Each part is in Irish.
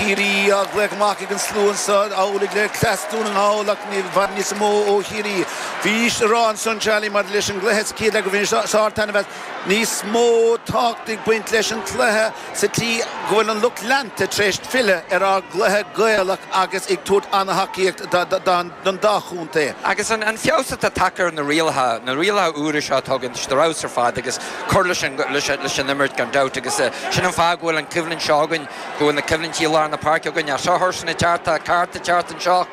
Chiarraí á ghlaoch amach ag an slua anseo, amhlaidh le cleas Dún na nGall ach i bhfad níos mó ó Chiarraí. Bhís ag rá ansan, Charlie, maidir leis an gcluiche sa chéad leath go bhfuil sár-taitneamh as. Níos mó tábhacht ag baint leis an chluiche sa tslí go bhfuil an lucht leanta tar éis filleadh ar ár gcluiche Gaelach agus ag tabhairt an-thacaíocht don dá chontae. Agus an feabhas atá tagtha ar na rialacha, na rialacha úra seo atá againn, tá siad ar fheabhas ar fad agus cur leis an leis an imirt gan dabht agus sin an fáth go bhfuil an choimhlint seo againn, go bhfuil na coimhlintí i lár na páirce againn. Ach seo thursan ag teacht, tá cárta ag teacht anseo.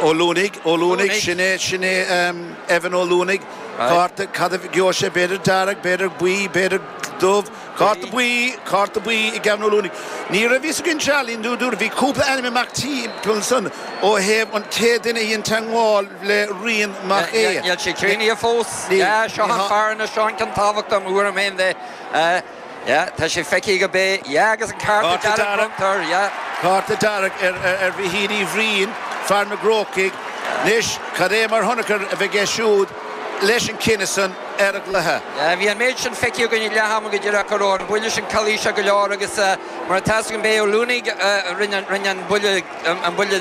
Ó Luanaigh, Ó Luanaigh, sin é, sin é Evan Ó Luanaigh. Cárta, cad a gheobhaidh sé, b'fhéidir dearg, b'fhéidir buí, b'fhéidir dubh. Cárta buí, cárta buí ag Evan Ó Luanaigh. Ní raibh fhios againn Charlie, nó dúradh, bhí cúpla ainm amach timpeall ansan ó thaobh an chéad duine a dhein teagmháil le Rian Mac Aodha. Níl sé críochnaithe fós. Yeah, seo an fear anois, seo an ceann tábhachtach i mo thuairim féin de. Yeah, tá sé feicthe go bé. Yeah, agus an cárta dearg bronnta air, yeah. Cárta dearg ar Mhichíl Uí Bhriain, fear na gCrócaigh. Anois, cad é mar thionchar a bheidh aige siúd leis an cinneadh san ar an gcluiche? Yeah, bhí an méid sin feicthe againn ag leath ama go díreach go raibh an buille sin calaoiseach go leor agus mar atá 'fhios againn b'é Ó Luanaigh a rinne an buille, an buille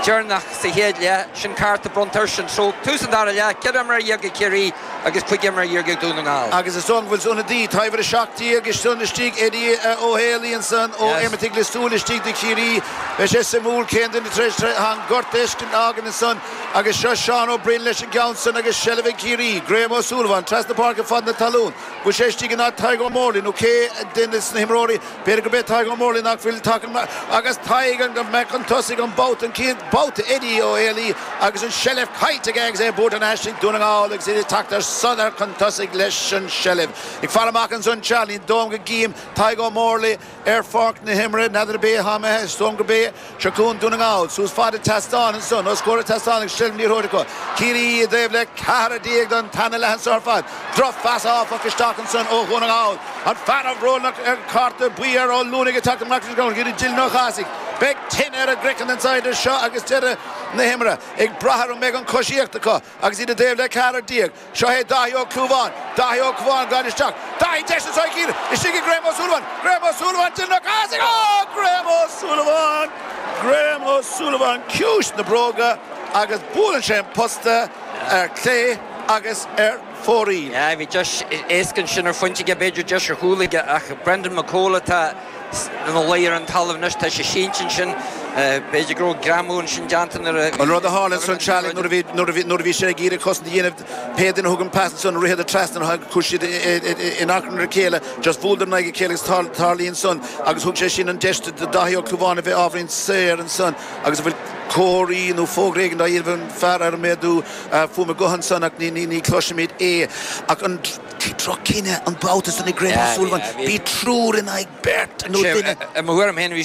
deireanach sa chéad leath. Sin cárta bronnta airsean. So, tús an dara leath, 14 imreoir ag Ciarraí. agus 15 imreoir ag Dún na nGall. Agus is dóigh go bhfuil ionadaí, uimhir 17 ansan istigh, Eddie Ó Héalaí ansan ó Éimeartaigh Lios Tuathail istigh do Chiarraí. Beidh sé suimiúil cén duine tar éis an gortú a fhágaint ansan agus seo Seán Ó Broin leis an gceann san agus seilbh ag Ciarraí. Graham Ó Súilleabháin trasna páirce fad na talún. Bhfuil sé istigh in áit Tadhg Ó Mórlaigh nó cé duine de na himreoirí B'fhéidir gurb é Tadhg Ó Mórlaigh nach bhfuil tagtha amach agus Tadhg an mbeidh chun tosaigh an babhta, an chéad bhabhta, Eddie Ó Héalaí agus an seilbh caillte aige agus é buaite thar n-ais ag Dún na nGall agus iad ag teacht ar sodar chun tosaigh leis an seilbh. Ag faire amach ansan Charlie, dóigh liom go gcím Tadhg Ó Mórlaigh ar pháirc na himeartha, n'fheadar ab é atá imithe, is dóigh liom gurb é. Seo chugainn Dún na nGall, suas fad an tseastáin ansan, os comhair an tseastáin agus seilbh na liathróide acu. Ciarraí i dtaobh le ceathrar don tarna leath anso ar fad. Drochphas áfach isteach ansan ó Dhún na nGall. An fear a bhuail an cárta buí ar Ó Luanaigh ag teacht amach leis an gceann go dtí Dylan Ó Cathasaigh. Beidh tine ar a gcraiceann anso idir seo agus deireadh na himeartha. Ag brath ar an mbeidh an choisíocht acu agus iad i dtaobh le 14. Seo é Dáithí Ó Clúmháin. Dáithí Ó Clúmháin gan isteach. Dáithí deis anseo ag Ciarraí. Istigh ag Graham Ó Súilleabháin. Graham Ó Súilleabháin Dylan Ó Cathasaigh. Ó! Graham Ó Súilleabháin! Graham Ó Súilleabháin ciumhais na bróga agus buaileann sé an posta ar clé agus ar fóraoil. Bhí deis éasca ansin ar phointe aige, b'fhéidir deis ar chúl aige ach Brendan McCole atá ina luí ar an talamh anois, tá sé sínte ansin. B'fhéidir go raibh greamú ansin déanta nuair a. An rud a tharla ansan, Charlie, nuair a bhí, nuair a bhí, nuair a bhí sé ag iarraidh cosaint a dhéanamh, pé duine a thug an pas ansan, ritheadar trasna, chuaigh siad in achrann ar a chéile, just bhuaileadar in aghaidh a chéile agus tarlaíonn san agus thug sé sin an deis do Dáithí Ó Clúmháin a bheith ábhairín saor ansan agus a bhfuil comharthaí nó fógra éigin á dhéanamh an fear ar an méadú fuaime gutha ansan ach ní, ní, ní chloisimid é. Ach an. Droch-chinneadh an babhta san ag Graham O'Sullivan. Bhí triúr in aghaidh beirt nó duine. I mo thuairim féin bhí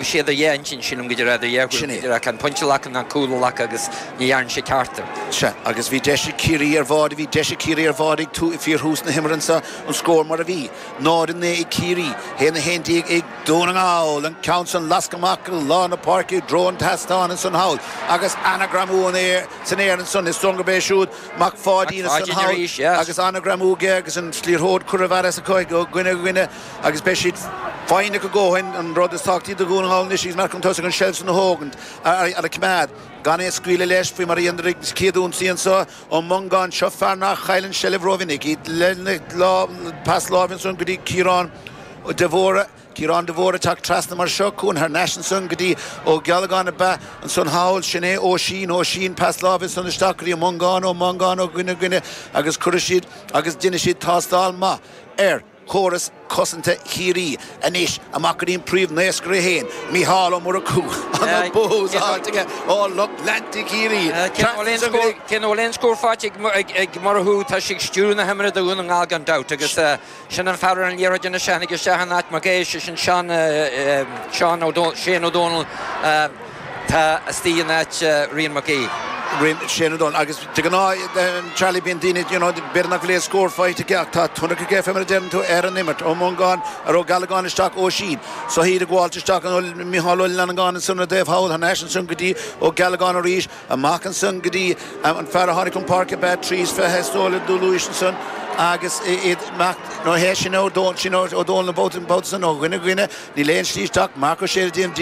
sé idir dhá intinn, sílim go raibh idir dhá thuairim, go raibh an pointe a ghlacadh nó an cúl a ghlacadh agus ní dhearna sé ceart. Sea, agus bhí deis ag Ciarraí ar bháide, bhí deis ag Ciarraí ar bháide ag fíorthús na himeartha anseo, an scór mar a bhí, 0-9 ag Ciarraí, 1-11 ag Dún na nGall, an ceann san lasctha amach i lár na páirce i dtreo an tseastáin ansan thall agus ana-ghreamú san aer ansan, is dóigh gurb é siúd Mac Pháidín ansan thall agus ana-ghreamú aige agus an liathróid curtha i bhfear as acu ó dhuine go dhuine agus beidh siad foighneach a dhóthain an rud is tábhachtaí do Dhún na nGall anois agus iad chun tosaigh an seilbh san a thógaint a choimeád gan é a scaoileadh leis faoi mar a dhéanadar ag chéad ionsaí anso Ó Mongáin seo fear nach chailleann seilbh rómhinic iad lena pas láimhe ansan go dtí Ciarán de Mhórdha. Ciarán de Mhórdha ag teacht trasna mar seo, chugainn thar n-ais ansan go dtí Ó Gealgáin ab ea ansan thall, sin é Oisín, Oisín, pas láimhe ansan isteach go dtí Ó Mongáin, Ó Mongáin ó dhuine go duine agus cuirfidh siad agus déanfaidh siad tástáil maith ar chóras cosanta Chiarraí. Anois amach go dtí an príomh-naoscaire féin, Mícheál Ó Murchú, ana bús faighte aige ó lucht leanta Chiarraí. Cé nach bhfuil aon scór faighte ag Murchú, tá sé ag stiúradh na himeartha do Dhún na nGall gan dabht agus Sin an fear ar an liathróid anois a tháinig isteach in áit Mac Aoidh, sé sin Seán, Seán Ó, Shane Ó Dónaill atá istigh in áit Rian Mac Aoidh. Rian, Shane Ó Dónaill. Agus de ghnáth, Charlie, bíonn daoine, you know, b'fhéidir nach bhfuil aon scór faighte aige ach tá tionchar aige, fé mar a deireann tú, ar an imirt. Ó Mongáin, ar Ó Gealgáin isteach, Oisín. So iad ag gabháilt isteach, Micheál Ó Fhlannagáin ansan ar an dtaobh thall, thar n-ais ansan go dtí Ó Gealgáin arís. Amach ansan go dtí an fear a tháinig chun páirce ab ea 23 is dóigh le Dúlúis ansan agus iad amach nó hé sin Ó Dónaill sin Ó Dónaill an babhta san ó dhuine go dhuine níl aon slí isteach Marc Ó Sé ag déanamh.